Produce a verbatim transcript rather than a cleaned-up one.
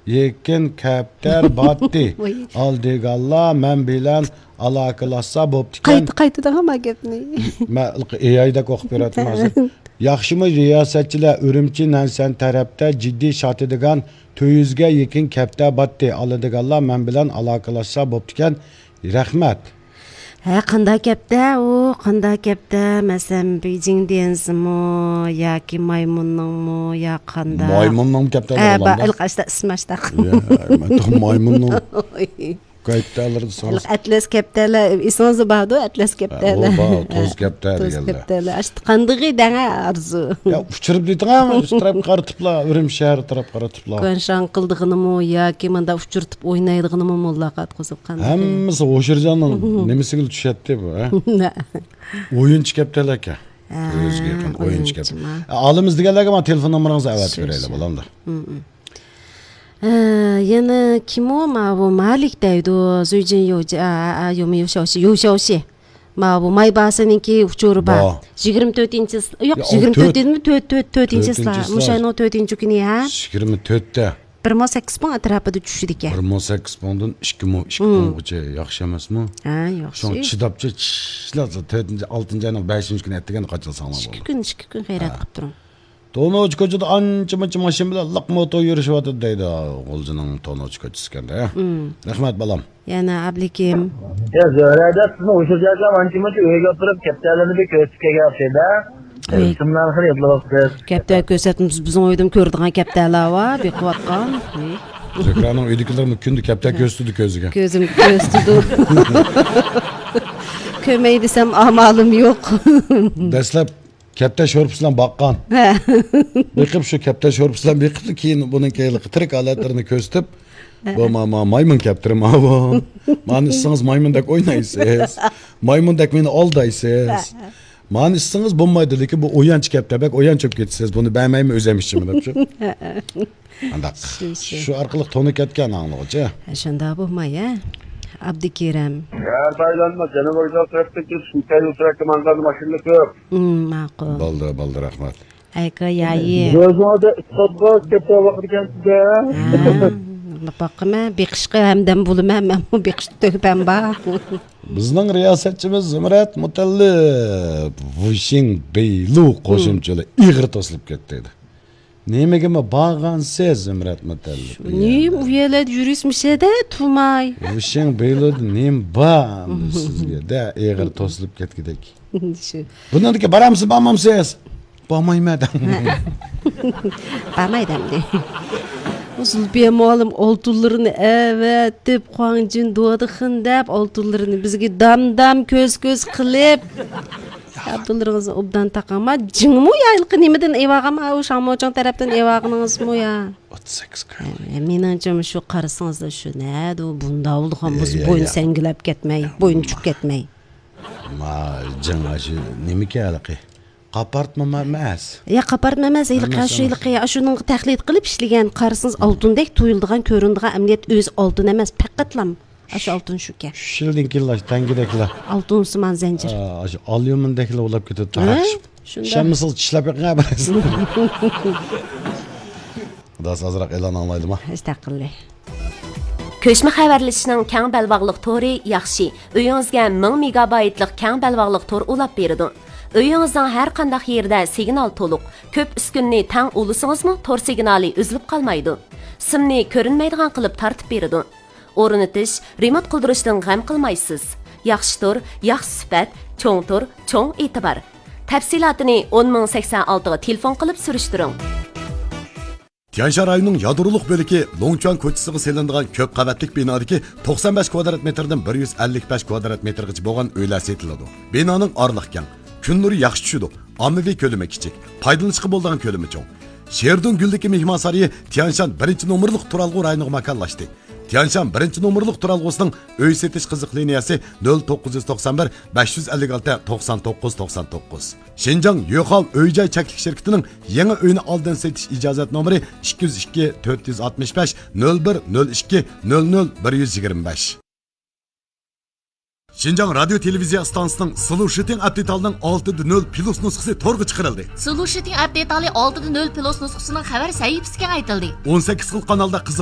يېكىن كەپتەر باتتى. ۋاي. ئالىدىغانلار مەن بىلەن ئالاقىلاشسا بوپتىكەن. قايتا، قايتا دەڭە ما گەپنى. مەن ئېئايدەك ئوقۇپ بېرەتتىم ھازىر. ياخشىمۇ رىياسەتچىلەر، ئۈرۈمچى نەنسەن تەرەپتە جىددىي ساتىدىغان تۆت يۈزگە يېقىن كەپتەر باتتى. ئالىدىغانلار مەن بىلەن ئالاقىلاشسا بوپتىكەن. رەھمەت. ھە، قانداق كەپتە ئۇ؟ قانداق كەپتە؟ مەسىلەن، بېيجىڭ دېنسىمۇ ياكى مايمۇننىڭمۇ يا قانداق؟ مايمۇننىڭمۇ كەپتە ھە، بار، بولامدا؟ ئىلقاشتا ئىسماشتا. يا، مەن مايمۇننىڭ كەپتەلىرى ساناس. ئەتلەس كەپتەلەر، ئېسىڭىزدە باردۇ، ئەتلەس كەپتەلەر. ھە، ئۇ بار، توز كەپتە توز دېگەنلەر. كەپتەلەر. ئاشتا قاندىغى دەڭە ئارزۇ. يا، ئۇچۇرۇپ دېتىڭە، شۇ تەرەپكە قارىتىپلا، ئۈرۈمچى شەھىرى تەرەپكە قارىتىپلا. كۇەنشاڭ قىلىدىغىنىمۇ ياكى مۇنداق ئۇچۇرتۇپ ئوينايدىغىنىمۇ موللا قاتقۇزۇپ قانداق؟ ھەممىسى ھوشۇرجاننىڭ نېمىسىگىلا چۈشەتتى بۇ، ھە؟ ئويۇنچى كەپتەلەكەن. ھە، كۆزگە يېقىن ئويۇنچى كەپتە. ئويۇنچىما. ئالىمىز دېگەنلەرگە مانا تېلېفون نومۇرىڭىزنى ئەۋەتىپ شۇ، بېرەيلى، شۇ. بولامدۇ؟ ھە. ھە، يەنە كىم ئۇ؟ ماۋۇ مالىك دەيدۇ. زۇيجىن يوجى، ئا، ئا، ئا، يومۇ يوشاۋشى، يوشاۋشى. ماۋۇ مايباسىنىڭكى ئۇچۇرى بار. بار. يىگىرمە تۆتىنچى، يوق، يا، يىگىرمە تۆت ئون تۆت. دېدىمۇ؟ تۆت، تۆت، تۆتىنچى تۆتىنچى سىلار. مۇشۇ ئاينىڭ تۆتىنچى كۈنى، ھە؟ يىگىرمە تۆتتە. بىر مىڭ سەككىز پۇڭ ئەتراپىدا چۈشىدىكەن. بىر مىڭ سەككىز پۇڭدىن ئىككى مىڭ، ئىككى مىڭ، مم. پۇڭغىچە ياخشى ئەمەسمۇ؟ ھە، ياخشى. شۇڭا چىداپچە چىشلەپ، تۆتىنچى، ئالتىنچى ئاينىڭ بەشىنچى كۈنى ئەتىگەن قاچىلىساڭلار بولىدۇ. ئىككى كۈن، ئىككى كۈن خەيرات قىلىپ تۇرۇڭ. تونۇچ كوچىدا ئانچە-مۇنچە ماشىنا بىلەن لىق موتور يۈرۈشۈۋاتىدۇ دەيدۇ. غۇلجىنىڭ تونۇچ كوچىسى ئىكەن-دە. مم. رەھمەت، بالام. يەنە ئابلىكىم. يا، زۆھرە دەپ، سىزنى ئۇششاق جايلارغا ئانچە-مۇنچە ئۆيگە ئاپىرىپ، كەپتەرلەرنى بىر كۆرسىتىپ كەلگەن ئوخشايدۇ. ئۆي. ئىسىملارنى خېلى ئېيتىپ بېرىپسىز. كەپتەر كۆرسەتمىسە، بىزنىڭ ئۆيدىمۇ كۆرىدىغان كەپتەرلەر بار، بېقىۋاتقان. ئۆي. زۆھرەنىڭ ئۆيدىكىلىرىمۇ كۈندە كەپتەر كۆرسىتىدۇ كۆزىگە. كۆزۈمگە كۆرسىتىدۇ. كۆرمەي دېسەم، ئامالىم يوق. دەسلەپ كەپتەر شورپىسى بىلەن باققان. ھە. بېقىپ، شۇ كەپتەر شورپىسى بىلەن بېقىپلا، كېيىن بۇنىڭ كېيىنلىكى تىرىك ھالەتلىرىنى كۆرسىتىپ، ھە. بۇ ما-، ما-، مايمۇن كەپتىرى ماۋۇ. مانا ئىچسىڭىز مايمۇندەك ئوينايسىز. مايمۇندەك مېنى ئالدايسىز. ھە. مانا ئىچسىڭىز بولمايدۇ، لېكىن بۇ ئويۇنچۇق كەپتەر، بەك ئويۇنچۇق كېتىسىز. بۇنى بەرمەيمەن، ئۆزۈم ئىچىمەن دەپ شۇ. ھە. ئانداق. شۇ، شۇ. شۇ ئارقىلىق تونۇپ كەتكەن ئاڭلىغۇچى. ھە، شۇنداق بولماي، ھە. ئابدۇكېرەم. يا، تايلاندما جەنۇبىي تەرەپتىن كېلىپ، شىنكايلۇ تەرەپكە ماڭغان ماشىنىلار كۆپ. ئۇم، ماقۇل. بولدى، بولدى، رەھمەت. ئەيكا يايى. ئۆزىڭىزدە ئىسپات بار، كەپتەر ۋاقىت ئىكەن سىزدە. ھە، باقىمەن، بېقىشقا ھەمدەم بولىمەن، مەنمۇ بېقىشتا تۆھپەم بار. بىزنىڭ رىياسەتچىمىز زۇمرەت مۇتەللىپ ۋۇشىڭ بېيلۇ قوشۇمچىلىرى ئېغىر توسۇلۇپ كەتتى. نېمىگىمۇ بارغانسىز، زۇمرەت مۇتەللىپ؟ نېمە ئۇ يەرلەردە يۈرۈسمىشەدە تۇماي. ۋۇشىڭ بېيلۇدا نېمە بار ئەمدى سىزگە دە، ئېغىر توسۇلۇپ كەتكۈدەك. شۇ. بۇنىڭدىكى بارامسىز، بارمامسىز؟ بارمايمەن دەڭ. بارماي دەمدى. زۇلپىيە مۇئەللىم ئالتۇنلىرىنى ئەۋەتىپ، خۇاڭجىن دۇۋادىخىن دەپ ئالتۇنلىرىنى بىزگە دام-دام، كۆز-كۆز قىلىپ. ئابدۇللىرىڭىزنى ئوبدان تاقاڭ. ما جىڭمۇ يا ھېلىقى نېمىدىن ئېۋالغان، ئۇ شاڭمۇچىڭ تەرەپتىن ئېۋالغىنىڭىزمۇ يا؟ ئوتتۇز سەككىز كوي. ھە، مېنىڭچە شۇ قارىسىڭىزدا شۇ نەدە ئۇ بۇنداق بولىدىغان بولسا، يا، يا، بوينى يا. سەڭگىلەپ كەتمەي، بوينى چۈشۈپ كەتمەي. ما جىڭ ئاشۇ نېمىكى ھېلىقى؟ قاپارتما ئەمەس. يا، قاپارتما ئەمەس، ھېلىقى، ئەمەس، شۇ ئەمەس. ھېلىقى، ئاشۇنىڭغا تەقلىد قىلىپ ئىشلىگەن، قارىسىڭىز ئالتۇندەك تۇيۇلىدىغان، كۆرۈنىدىغان، ئەمەلىيەتتە ئۆزى ئالتۇن ئەمەس، پەقەتلا ئاشۇ ئالتۇن شۇكەن. ئۈچ يىلدىن كېيىنلا تەڭگىدەكلا. ئالتۇن سىمان زەنجىر. ئا، ئاشۇ ئاليۇمىندەكلا بولاپ كېتىدۇ، ھە؟ تاراقشىپ. شۇنداق. ئىشەنمىسىڭىز چىشلەپ بېقىڭ، بىرەرسىنى. خۇداسى ئازراق ئېلان ئاڭلايلىما؟ ئەستەغپۇرۇللا. كۆچمە خەۋەرلىشىشنىڭ كەڭ بەلباغلىق تورى ياخشى. ئۆيىڭىزگە مىڭ مېگابايتلىق كەڭ بەلباغلىق تور ئۇلاپ بېرىدۇ. ئۆيىڭىزنىڭ ھەر قانداق يېرىدە سىگنال تولۇق. كۆپ ئۈسكۈنىنى تەڭ ئۇلىسىڭىزمۇ تور سىگنالى ئۈزۈلۈپ قالمايدۇ. سىمنى كۆرۈنمەيدىغان قىلىپ تارتىپ بېرىدۇ. ئورنىتىش، رېمونت قىلدۇرۇشتىن غەم قىلمايسىز. ياخشى تور، ياخشى سۈپەت، چوڭ تور، چوڭ ئېتىبار. تەپسىلاتىنى ئون مىڭ سەكسەن ئالتىغا تېلېفون قىلىپ سۈرۈشتۈرۈڭ. تيەنشان رايونىنىڭ يادرولۇق بۆلىكى لوڭچۈەن كوچىسىغا سېلىنىدىغان كۆپ قەۋەتلىك بىنادىكى توقسان بەش كۋادرات مېتىردىن بىر يۈز ئەللىك بەش كۋادرات مېتىرغىچە بولغان ئۆيلەر سېتىلىدۇ. بىنانىڭ ئارىلىق كەڭ، كۈن نۇرى ياخشى چۈشىدۇ، ئاممىۋى كۆلىمى كىچىك، پايدىلىنىشقا بولىدىغان كۆلىمى چوڭ. شېردۇڭ گۈللۈكى مېھمانسارىيى تيەنشان بىرىنچى نومۇرلۇق تۇرالغۇ رايونىغا ماكانلاشتى. تيەنشان بىرىنچى نومۇرلۇق تۇرالغۇسىنىڭ ئۆي سېتىش قىزىق لىنىيەسى نۆل توققۇز يۈز توقسان بىر، بەش يۈز ئەللىك ئالتە، توقسان توققۇز، توقسان توققۇز. شىنجاڭ يۆخاۋ ئۆي جاي چەكلىك شىركىتىنىڭ يېڭى ئۆينى ئالدىن سېتىش ئىجازەت نومۇرى ئىككى يۈز ئىككى، تۆت يۈز ئاتمىش بەش، نۆل بىر، نۆل ئىككى، نۆل نۆل، بىر يۈز يىگىرمە بەش. شىنجاڭ رادىيو تېلېۋىزىيە ئىستانسىسىنىڭ سلۇشىتىڭ ئەپ دېتالىنىڭ ئالتە دە نۆل پلۇس نۇسخىسى تورغا چىقىرىلدى. سلۇشىتىڭ ئەپ دېتالى ئالتە دە نۆل پلۇس نۇسخىسىنىڭ خەۋەر سەھىپىسى كېڭەيتىلدى. ئون سەككىز خىل قانالدا قىزىق